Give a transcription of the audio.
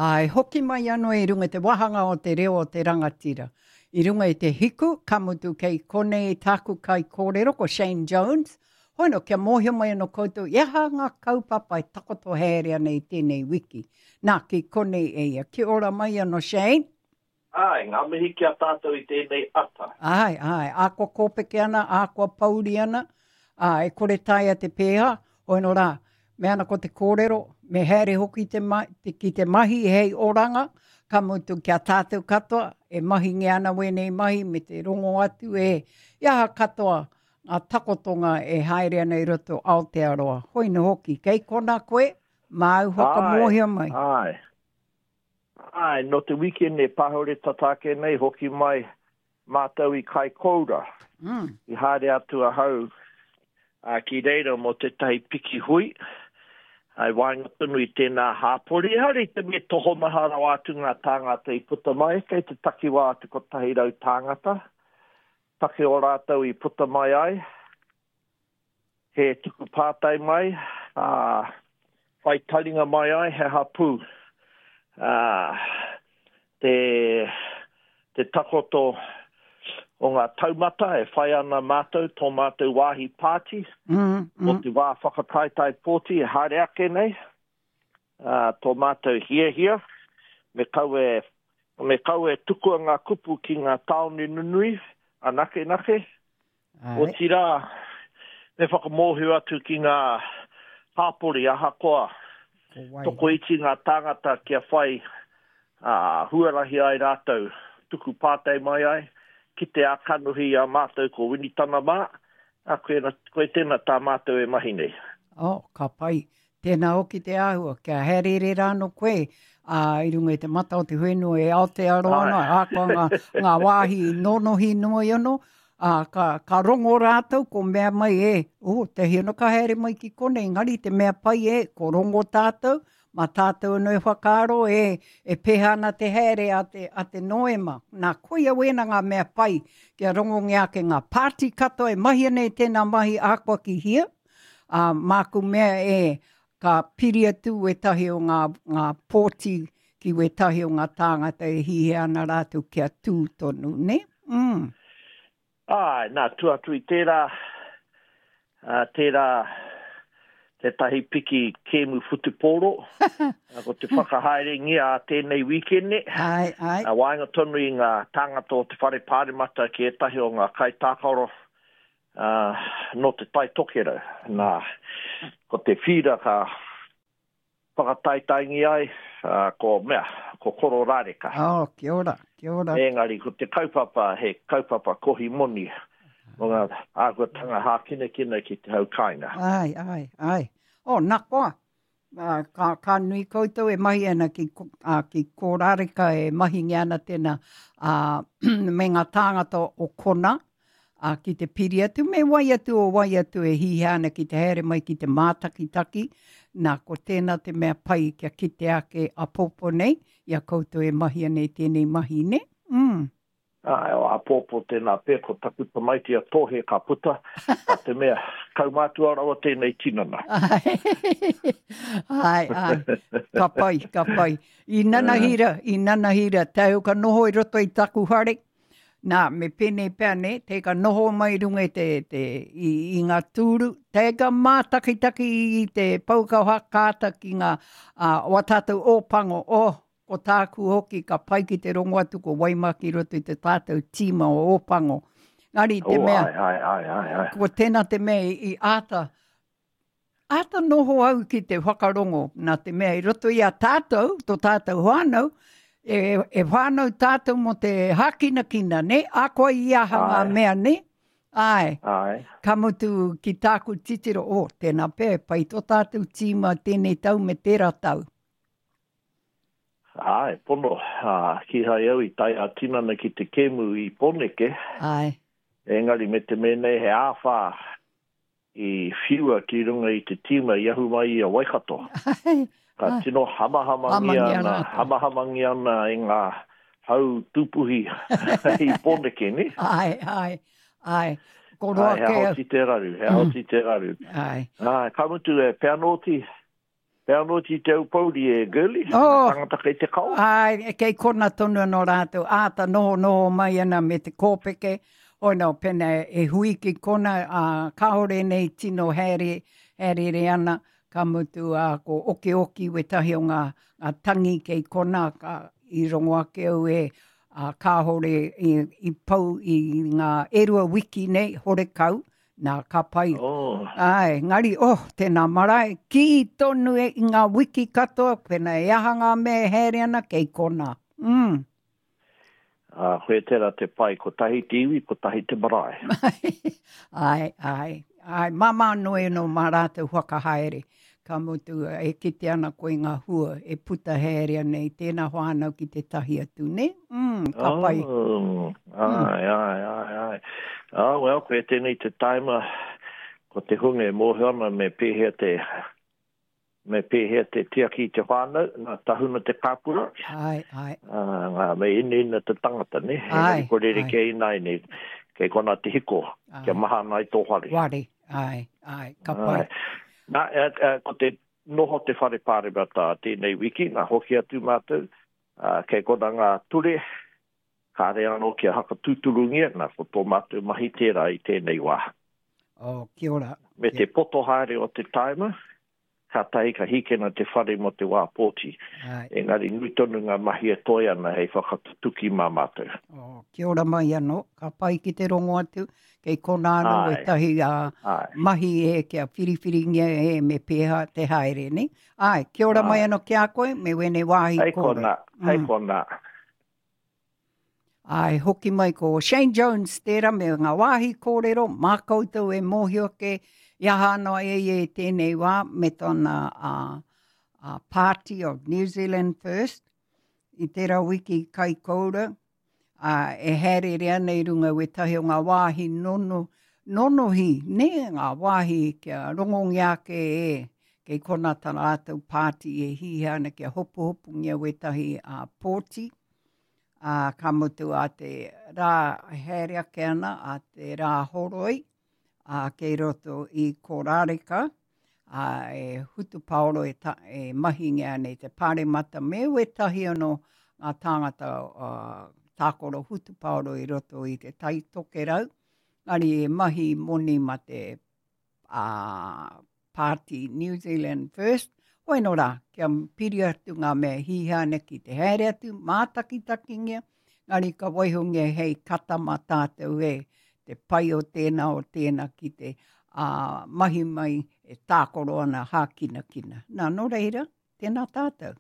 Āe, hoki mai anō i runga i te wāhanga o te reo o te rangatira. I runga i te hiku, ka mutu kei konei tāku kaikōrero ko Shane Jones. Hono, kia mōhio mai anō koutou i aha ngā kaupapa e takoto haere ana i tēnei wiki. Nā, ki konei e ia. Kia ora mai anō Shane. Āe, ngā mihi ki a tātou i tēnei ata. Āe, āe, ā kua kōpeke ana, ā kua pouri ana, ā, e kore taea te pēha, hoeno rā, me ana ko te kōrero, me haere hoki te ma, te, ki te mahi hei oranga, ka mutu ki a tātou katoa, e mahingia ana wēnei mahi me te rongo atu e, i aha katoa ngā takotonga e haere ana i roto Aotearoa. Hoino hoki, kei kona koe, māu whakamōhio mai. Āe, āe. Āe, nō te wikene pahure tata ake nei hoki mai mātou i Kaikoura. Mm. I haere atu ahau ki reira mō tētahi piki hui, i waenga tonu i tēnā hāpori. Ehara i te mea tokomaha rawa atu ngā tāngata i puta mai, kei te takiwā o te 100 tāngata, take o rātou i puta mai ai. He tuku pātai mai, ā, whai taringa mai ai he hapū, ā, te, te takoto o ngā taumata e whai ana mātou, tō mātou wāhi pāti, mm, mm. o te wā whakataetae pōti e haere ake nei, ā, tō mātou hiahia, me kaua e, me kaua e tukua ngā kupu ki ngā tāone nunui anakenake, Otirā, me whakamōhio atu ki ngā hāpori ahakoa tokoiti ngā tāngata kia whai huarahi ai rātou tuku pātai mai ai, kite ā-kanohi i a mātou ko Winitana mā, ā, koe tēnā tā mātou e mahi nei. Oh, ka pai. Tēnā hoki te āhua, kia haereere rānō koe, ā, i runga i te mata o te whenua e Aotearoa ana, ahakoa ngā, ngā wāhi nonohi noi anō, ā, ka, ka rongo rātou, ko mea mai e, oh, te hiano ka haere mai ki konei, engari te mea pai e, ko rongo tātou, mā tātou anō e whakaaro e, e pēhea ana te haere a te, a te Noema. Nā, koia wēnā ngā mea pai, kia rongongia ake ngā pāti katoa e mahi ana i tēnā mahi ahakoa ki hia, Ā, māku mea e, ka piri atu wētahi o ngā, ngā pōti ki wētahi o ngā tāngata e hihia ana rātou kia tū tonu, nē? Mm. Āe, nā, tua atu i tērā, ā, tērā tētahi piki kēmu whutupōro, ko te whakahaerengia a tēnei wīkene, Āe, āe. ā, waenga tonu i ngā tāngata o te Whare Pāremata ki ētahi o ngā kaitākaro Ā, nō Te Tai Tokerau. Nā, ko te whīra ka whakataetaengia ai, ā, ko mea, ko Kororāreka. Oh, kia ora, kia ora. Engari, ko te kaupapa, he kaupapa kohi moni mō ngā āhuatanga hākinakina ki te hau kāinga. Āe, āe, āe. Oh, nā koa, Ā, ka, ka nui koutou e mahi ana ki, ā, ki Kōrāreka e mahingia ana tēnā, ā, me ngā tāngata o kona, ā, ki te piri atu, me wai atu o wai atu e hihia ana ki te haere mai ki te mātakitaki, nā, ko tēnā te mea pai kia kite ake āpōpō nei, i a koutou e mahi ana i tēnei mahi, nē? Mm. Āe, o āpōpō tēnā pea ko taku tamaiti a Tōhe ka puta, nā te mea, kaumātua rawa tēnei tinana. Āe, āe, ka pai, ka pai. I nanahira, i nanahira, tau ka noho i roto i taku whare, nā, me pēnei pea, nē, te ka noho mai i runga i te, te, i, i ngā tūru, te ka mātakitaki i te pouaka whakaata ki ngā, ā, wā tātou Ōpango, oh, Ko tāku hoki ka pai ki te rongo atu ko Waimā ki roto i te tātou tīma o Ōpango. Engari te oh, mea, ai, ai, ai, ai, ai. ko tēnā te mea i, i āta, āta noho au ki te whakarongo, nā te mea i roto i a tātou, tō tātou whānau, e, e whānau tātou mō te hākinakina, ne? Akoa i aha ngā mea, ne? Āe. Āe. Ka mutu ki tāku titiro, oh, tēnā pea, e pai tō tātou tīma tēnei tau me tērā tau. Āe, pono, ā, kīhai au i tae ā-tinana ki te kēmu i Pōneke. Āe. Engari me te mea nei he āwhā i whiua ki runga i te tīma i ahu mai i a Waikato. Āe. Ka tino hamahamangia ana, hamahamangia ana e ngā hau tūpuhi i Pōneke, nē? Āe, āe, āe. Ko roa kē au. Āe, he aha oti te raru, he aha oti te raru. Āe. Āe, ka mutu e, pea nōti. He anō ti Te Aupōuri e Girlie, oh, ngā tangata kei te kao. Ai, kei kona tonu anō rātou, āta noho noho mai ana me te kōpeke, hoi no, pena e hui ki kona, ā, kāore nei tino haere, haerere ana, ka mutu, ā, ko okioki wetahi o ngā, ngā tangi kei kona, ka, i rongo ake au e, ā, kāore i, i pau i ngā e rua wiki nei, horekau, Nā, ka pai. Oh. Āe, engari, oh, tēnā marae, kī tonu e i ngā wiki katoa, pēnā e aha ngā mea e haere ana, kei konā. Mm. Ā, koe tērā te pai, kotahi te iwi, kotahi te marae. Āe, āe, āe, māmā noa anō mā rātou whakahaere. Ka mutu, e kite ana koe ngā hua e puta haere ana i tēnā whānau ki tētahi atu, nē? Mm, ka pai. Oh, āe, āe, āe, āe. Ah, well, koe tēnei te taima, ko te hunga e mōhio ana me pēhea te, me pēhea te tiaki i te whānau, nā tahuna te kāpura. Āe, āe. Uh, ngā, me inaina te tangata, nē? Āe, Engari kua rerekē ināianei, kei konā te hiko, kia mahana ai tō whare. Ware. Āe, āe, ka pai. Āe. Nā, e, e, ko te noho te whare pāremata tēnei wiki, nā, hoki atu mātou, ā, kei kona ngā ture, kāre anō kia hakatūturungia, nā, ko tō mātou mahi tērā i tēnei wā. Oh, kia ora. Me te poto haere o te taima, kātahi ka hīkina te whare mō te wā pōti. Āe. Engari nui tonu ngā mahi e toe ana hei whakatutuki mā mātou. Oh, kia ora mai anō. Ka pai ki te rongo atu. Kei konā anō Āe. wētahi ā, Āe. mahi e kia whiriwhiringia e me pēhea te haere, nē? Āe, kia ora mai Āe. anō ki a koe me wēnei wāhi Hei kōrero. konā, hei Mm. konā. Āe, hoki mai ko Shane Jones tērā me ngā wāhi kōrero, mā koutou e mōhio ake i aha anō e ia i tēnei wā me tōna uh, uh, Party of New Zealand First i tērā wiki Kaikoura, ā, e haereere ana i runga wētahi o ngā wāhi nono, nonohi, nē, ngā wāhi kia rongongia ake e, kei konā tā rātou pāti e hihia ana kia hopuhopungia wētahi uh, pōti. Ā, ka mutu a te rā e haere ake ana, a te rā horoi, ā, kei roto i Korāreka, ā, e hutupaoro e, ta, e mahingia ana i te pāremata me wētahi anō ngā tāngata uh, tākoro hutupaoro i roto i te Tai Tokerau, engari e mahi moni ma te a Party New Zealand First, hoi no rā, kia piri atu ngā mea hīhā ana ki te haere atu, mātakitakingia, ngari ka waihongia hei kata mā tātou e te pai o tēnā o tēnā ki te a, mahi mai e tākoro ana hākinakina. Nā, nō reira, tēnā tātou.